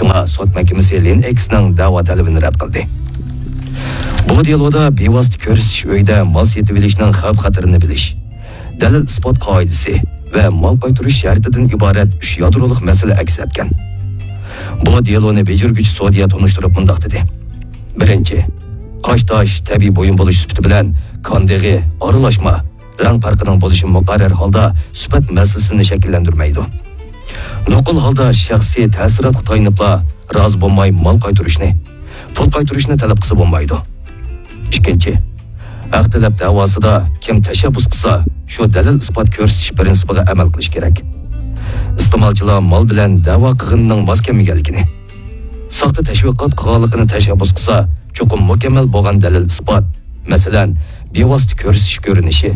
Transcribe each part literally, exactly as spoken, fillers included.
شۇڭا سوت مەھكىمىسى لىن ئېكسنىڭ دەۋا تەلىپىنى رەت قىلدى. بۇ دېلودا بىۋاسىتە كۆرسىتىش ئۆيىدە مال سېتىۋېلىشنىڭ خەۋپ-خەتىرىنى بىلىش، دەلىل-ئىسپات قائىدىسى ۋە مال قايتۇرۇش شەرتىدىن ئىبارەت ئۈچ يادرولۇق مەسىلە ئەكس ئەتكەن. بۇ دېلونى بېجىرگۈچى سوديە تونۇشتۇرۇپ مۇنداق دېدى: بىرىنچى، قاش-تاش، تەبىئىي بۇيۇم بولۇش سۈپىتى بىلەن كان دېغى، ئارىلاشما، رەڭ پەرقىنىڭ بولۇشى مۇقەررەر ھالدا سۈپەت مەسىلىسىنى شەكىللەندۈرمەيدۇ. نوقۇل ھالدا شەخسىي تەسىراتقا تايىنىپلا رازى بولماي مال قايتۇرۇشنى، پۇل قايتۇرۇشنى تەلەپ قىلسا بولمايدۇ. ئىككىنچى، ھەق تەلەپ دەۋاسىدا كىم تەشەببۇس قىلسا، شۇ دەلىل-ئىسپات كۆرسىتىش پىرىنسىپىغا ئەمەل قىلىش كېرەك. ئىستېمالچىلار مال بىلەن دەۋا قىلغىنىنىڭ ماس كەلمىگەنلىكىنى، ساختا تەشۋىقات قىلغانلىقىنى تەشەببۇس قىلسا، چوقۇم مۇكەممەل بولغان دەلىل-ئىسپات، مەسىلەن، بىۋاسىتە كۆرسىتىش كۆرۈنۈشى،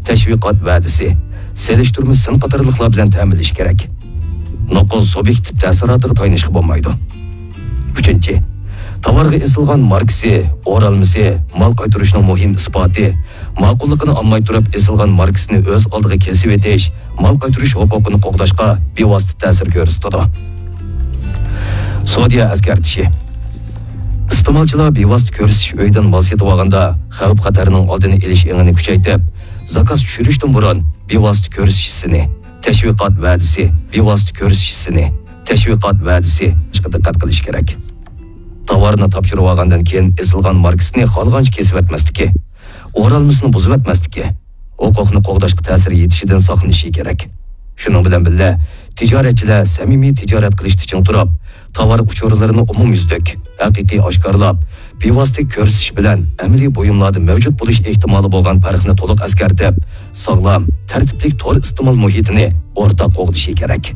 تەشۋىقات ۋەدىسى، سېلىشتۇرما سىن قاتارلىقلار بىلەن تەمىنلىشى كېرەك. نوقۇل سۇبيېكتىپ تەسىراتىغا تايىنىشقا بولمايدۇ. ئۈچىنچى، تاۋارغا ئېسىلغان ماركىسى، ئورالمىسى، مال قايتۇرۇشنىڭ مۇھىم ئىسپاتى، ماقۇللۇقىنى ئالماي تۇرۇپ ئېسىلغان ماركىسىنى ئۆز ئالدىغا كېسىۋېتىش، مال قايتۇرۇش ھوقۇقىنى قوغداشقا بىۋاسىتە تەسىر كۆرسىتىدۇ. سوديا ئەسكەرتىشى. ئىستېمالچىلار بىۋاسىتە كۆرسىتىش ئۆيىدىن مال سېتىۋالغاندا خەۋپ-خەتەرنىڭ ئالدىنى ئېلىش ئېڭىنى كۈچەيتىپ، زاكاز چۈشۈرۈشتىن بۇرۇن بىۋاسىتە كۆرسىتىش سىنى، تەشۋىقات ۋەدىسى، بىۋاسىتە كۆرسىتىش سىنى، تەشۋىقات ۋەدىسى، ئىشقا دىققەت قىلىش كېرەك. تاۋارنى تاپشۇرۇۋالغاندىن كېيىن ئېسىلغان ماركىسىنى خالىغانچە كېسىۋەتمەسلىكى، ئورالمىسىنى بۇزۇۋەتمەسلىكى، ھوقۇقنى قوغداشقا تەسىر يېتىشىدىن ساقلىنىشى كېرەك. شۇنىڭ بىلەن بىللە، تىجارەتچىلەر سەمىمىي تىجارەت قىلىشتا چىڭ تۇرۇپ، تاۋار ئۇچۇرلىرىنى ئومۇميۈزلۈك، ھەقىقىي ئاشكارىلاپ، بىۋاسىتە كۆرسىتىش بىلەن ئەمەلىي بۇيۇملاردا مەۋجۇت بولۇش ئېھتىمالى بولغان پەرقنى تولۇق ئەسكەرتىپ، ساغلام، تەرتىپلىك تور ئىستېمال مۇھىتىنى ئورتاق قوغدىشى كېرەك.